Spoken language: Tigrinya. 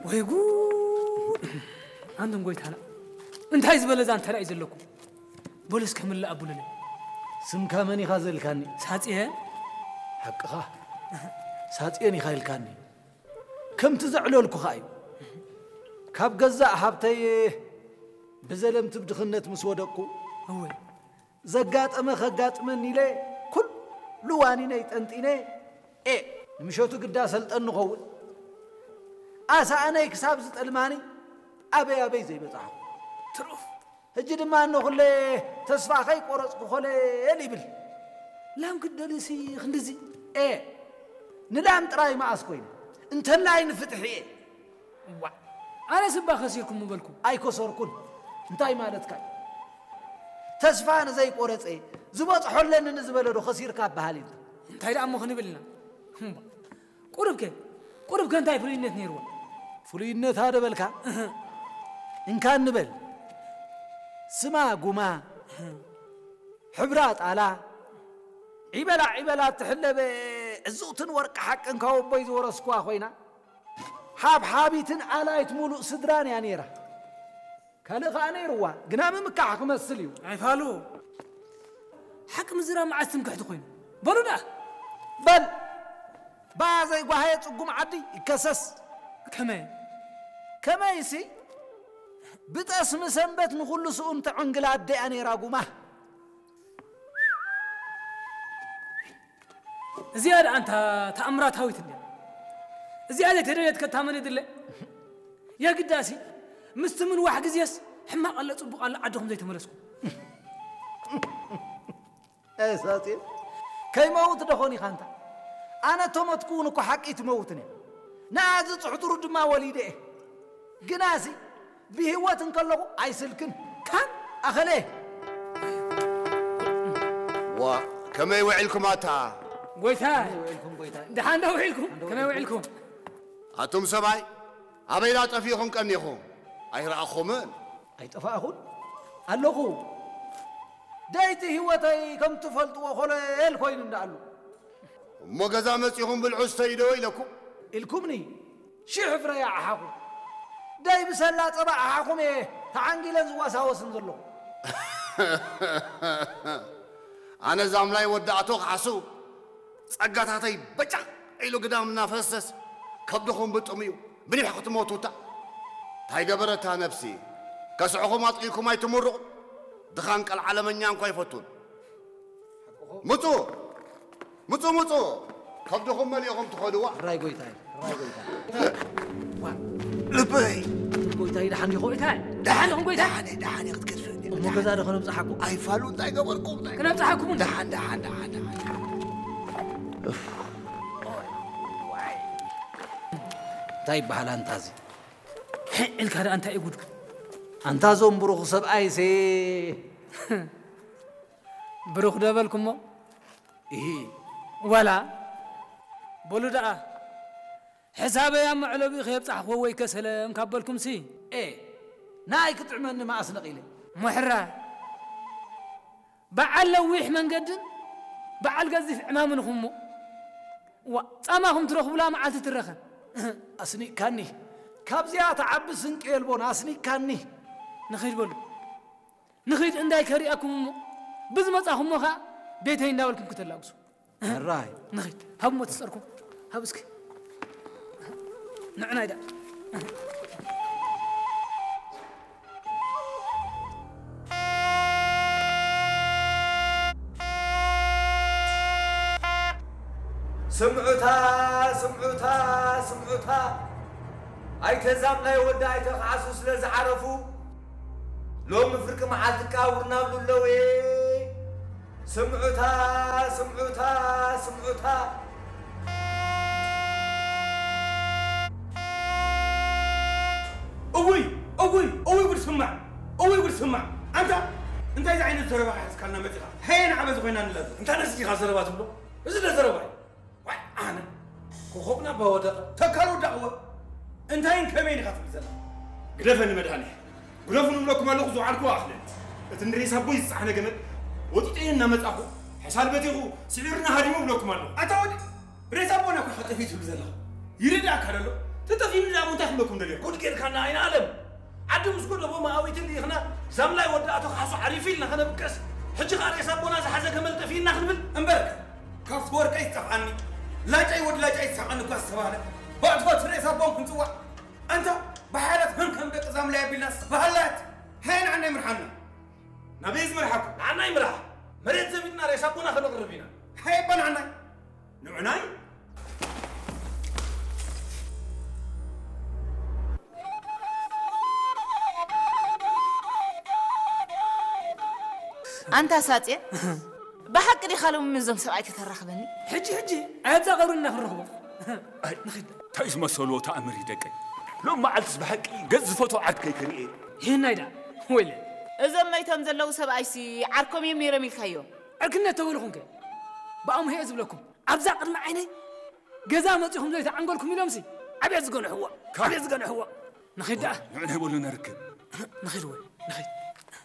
ወይ ጉድ! ኣንቱም ጎይታና፣ እንታይ ዝበለ ዛንታ ደኣ እዩ ዘለኩም? በሉ እስከ ምላእ ኣቡሉለይ። ስምካ መን ኢኻ ዘልካኒ? ሳጽየ። ሓቅኻ፣ ሳጽየን ኢኻ ኢልካኒ። ከምቲ ዘዕለልኩኻ እዩ። ካብ ገዛእ ሃብተይ ብዘለምቲ ብድኽነት ምስ ወደቅኩ፣ እወ። ዘጋጠመ ከጋጥመኒ ኢለ ኩሉ ዋኒነይ ጠንጢነ፣ ኤ፣ ንምሸቱ ግዳ ሰልጠን ንኸውን። ኣሳእነይ ክሳብ ዝጠልማኒ ኣበይ ኣበይ ዘይበጻሕኩ። ትሩፍ። ሕጂ ድማ እነኹለ ተስፋ ከይቆረጽኩ ኮለል ይብል። ላም ክትደልሲ ክንድዚ? ኤ፣ ንላም ጥራይ መኣስ ኮይነ? እንተላይ ንፍትሒ እየ። እዋእ፣ ኣነስ እባ ከሲርኩም ምበልኩ። ኣይከሰርኩን። እንታይ ማለትካ እዩ? ተስፋ ንዘይቆረጸ፣ ዝበጽሖ ኣለኒ ንዝበለ ዶ ከሲርካ በሃል እዩ? እንታይ ደኣ እሞ ክንብል ኢና? እምባ፣ ቁሩብከ፣ ቁሩብከ እንታይ ፍሉይነት ነይርዋ? ፍሉይነታ ዶ በልካ? እህ። እንካ ንበል። ስማ ጉማ፣ እህ። ሕብራ ጣላ፣ ዒበላ ዒበላ እትሕለበ ዕዙቕትን ወርቂ ሓቅን ካብ ኣቦይ ዝወረስኩዋ ኮይና፣ ሓብሓቢትን ኣላይት ሙሉእ ስድራን እያ ነይራ። ካልእ ኸኣ ነይርዋ፣ ግና ምምካሕ ክመስል እዩ። ኣይፋሉ። ሓቂ ምዝራብ መዓስ ትምክሕቲ ኮይኑ? በሉ ደኣ። በል፣ ብኣ ዘይጓሃየ ጽጉም ዓዲ ይከሰስ። ከመይ? ከመይሲ፣ ብጠስሚ ሰንበት ንኹሉ ስኡን ተዕንግል ኣደ እያ ነይራ ጉማ። እዚኣ ደኣ እንታ ተኣምራታዊት እንድያ። እዚኣ ዘይተደልየት ከታ መን ይድለ? የግዳሲ፣ ምስቲ ምንዋሕ ግዜስ ሕማቕ ኣሎ ጽቡቕ ኣሎ ዓድኹም ዘይተመለስኩም። ኤ ሳጽየ፣ ከይመውት ደኾን ኢኻ እንታ? ኣነ ተሞትኩ እውን እኮ ሓቂ ትመውትን እያ። ንኣ ዝጽሕትሩ ድማ ወሊደ እየ። ግናሲ፣ ብህይወት እንከለኹ ኣይስልክን። ካን ኣኸለ። ዋ፣ ከመይ ውዒልኩም ኣታ? ጎይታ፣ ከመይ ውዒልኩም ጎይታ? ደሓን ዶ ውዒልኩም? ከመይ ውዒልኩም? ኣቱም ሰብኣይ፣ ኣበይ ዳ ጠፊእኹም ቀኒኹም? ኣይረኣኹምን። ኣይጠፋእኹን ኣለኹ። ደይቲ ህይወተይ ከም ትፈልጥዎ ኮለል ኮይኑ እንዳኣሉ። እሞ ገዛ መጺኹም ብልዑ ስተዩ ዶ ኢለኩም? ኢልኩምኒ፣ ሽሕ ፍረ ይዓሓኹ። ደይ ብሰላ ጸባ ዓሓኹም እየ ተዓንጊለን ዝዋሳወስን ዘለኹ። ኣነ ዛምላይ ወዲ ኣቶ ካሕሱ ጸጋታተይ በጫ ኢሉ ግዳም እናፈሰስ ከብድኹም ብጥምዩ ብኒሕ ክትሞቱታ። እንታይ ገበረታ ነፍሲ? ከስዕኹም ኣጥቂኩም ኣይትምርቑ። ድኻን ቀልዓለመኛ እንኳ ኣይፈቱን። ምጹ! ምጹ፣ ምጹ! ከብድኹም መሊእኹም ትኸድዋ። ሕራይ ጎይታይ፣ ሕራይ ጎይታይ። ዋ፣ ልበይ! ኣቱም ጎይታይ፣ ደሓን ዲኹም? ጎይታይ፣ ደሓን ዲኹም ጎይታይ? ደሓን እየ፣ ደሓን እየ፣ ክትገድፈኒ። እሞ ገዛ ዶ ከነብጽሓኩም? ኣይፋሉ፣ እንታይ ገበርኩም? እንታይ ክነብጽሓኩም እንዶ? ደሓን፣ ደሓን፣ ደሓን፣ ደሓን። እንታይ ይበሃል ኣንታ እዚ? ሕዕ ኢልካ ደኣ እንታይ እዩ ጉዱ? ኣንታ እዞም ብሩኽ ሰብኣይሲ። ብሩኽ ዶ በልኩሞ? እሂ። ዋላ፣ በሉ ደኣ፣ ሕሳበይ ኣብ መዕለቢኡ ከየብጻሕክዎ ወይ ከሰለም ካብ በልኩምሲ። ኤ፣ ንኣይ ክጥዕመኒ መኣስ ነቒለ? ሞሕራ፣ በዓል ነዊሕ መንገድን በዓል ገዚፍ ዕማምን ኢኹምሞ። ዋ፣ ጻማኹም ትረኽቡላ መዓልቲ ትረኸብ። ኣስኒቕካኒ። ካብዚኣ ትዓቢ ስንቂ የልቦን፣ ኣስኒቕካኒ። ንኺድ በሉ። ንኺድ እንዳይ ከሪኣኩም እሞ፣ ብዝመጻኹሞ ኸኣ ቤተይ እንዳበልኩም ክተላግሱ። ሕራይ። ንኺድ። ሃብ እሞ ትጸርኩም። ሃብ እስኪ። ንዕናይ ደኣ። ስምዑታ፣ ስምዑታ፣ ስምዑታ። ኣይተ ዛምላይ ወዲ ኣይተ ካሕሱ ስለ ዝዓረፉ፣ ሎሚ ፍርቂ መዓልቲ ቃውር ናብሉ ኣለዉ። ስምዑታ፣ ስምዑታ፣ ስምዑታ። እውይ፣ እውይ፣ እውይ ጉድ ስማዕ፣ እውይ ጉድ ስማዕ። ኣንታ እንታይ ዓይነት ዘረባ ሒዝካልና መጺኻ? ሄን ዓበዚ ኮይና ንላዘብ። እንታይ ነስቲኻ ዘረባ ትብሎ? እዚ ዶ ዘረባ እዩ? ዋይ፣ ኣነ ኮኾብና ባወደቐ፣ ተካል ወዳቕዎ። እንታይን ከመይን ኢኻ ትብል ዘለኻ? ግደፈኒ መድሃኔ። ግደፉ ንብለኩም ኣለኹ፣ ዝወዓልኩዎ ኣኽለን። እቲ ንሬሳ ኣቦይ ዝጸዓነ ገመድ ወጢጠዮ እናመጻኹ፣ ሕሳል በቲኹ፣ ስዒሩና ሃዲሙ እብለኩም ኣለኹ። ኣታ ወዲ፣ ሬሳ ኣቦና እኮ ኢኻ ጠፊኡ ትብል ዘለኻ። ይርድኣካ ዶ ኣሎ? ተጠፊኑ ዳሞ እንታይ ክብለኩም ደልዮ? ጉድ ጌርካና ኣይነ ኣለም። ዓዲ ምስ ጎደቦ መኣዊትን ልኢኽና ዛምላይ ወዲ ኣቶ ካሕሱ ዓሪፉ ኢልና ከነብቀስ፣ ሕጂ ኸኣ ሬሳ ኣቦና ዝሓዘ ገመል ጠፊእና ክንብል? እምበርከ፣ ካብቲ ወርቀይ ዝጠፍኣኒ፣ ላጫይ ወዲ ላጫይ ዝሳቐኒ እኳ ዝተባህለ፣ ብኣትወት ሬሳ ኣቦም ክንጽዋዕ፣ ኣንታ ብሓያላት ከም ከም ደቂ ዛምላይ ኣቢልናስ ብሃላት። ሃየ ንዓና ይምርሓና። ናበይ ዝመርሓኩም? ንዓና ይምራሕ። መሬት ዘቢጥና ሬሳ ኣቦና ከነቕርብ ኢና። ሃየ እባ ንዓና። ንዑናይ። ኣንታ ሳጼ፣ ብሓቂ ዲኻ ሎሚ ምስዞም ሰብኣይ ከተራኽበኒ? ሕጂ ሕጂ ኣየብዛ ቀብርና ክንረኽቦ። እንታይ ዝመሰልዎ ተኣምር እዩ ደቀይ። ሎም መዓልትስ ብሓቂ ገጽ ዝፈትዎ ዓርከይ ክርኢ። ይህናይ ደኣ ወይለ። እዞም መይቶም ዘለዉ ሰብኣይሲ ዓርኮም እዮም ነይሮም ኢልካዮ? ዕርክነት ተበልኹምከ? ብኣምሆ እየ ዝብለኩም። ኣብዛ ቅድሚ ዓይነይ ገዛ መጺኹም ዘይተዓንገልኩም ኢሎምሲ ዓብየት ዝገንሕዎ። ዓብየት ዝገንሕዎ። ንኺድ ደኣ። ንዑ ናይ በሉ ነርክብ። ንኺድ ወይ ንኺድ።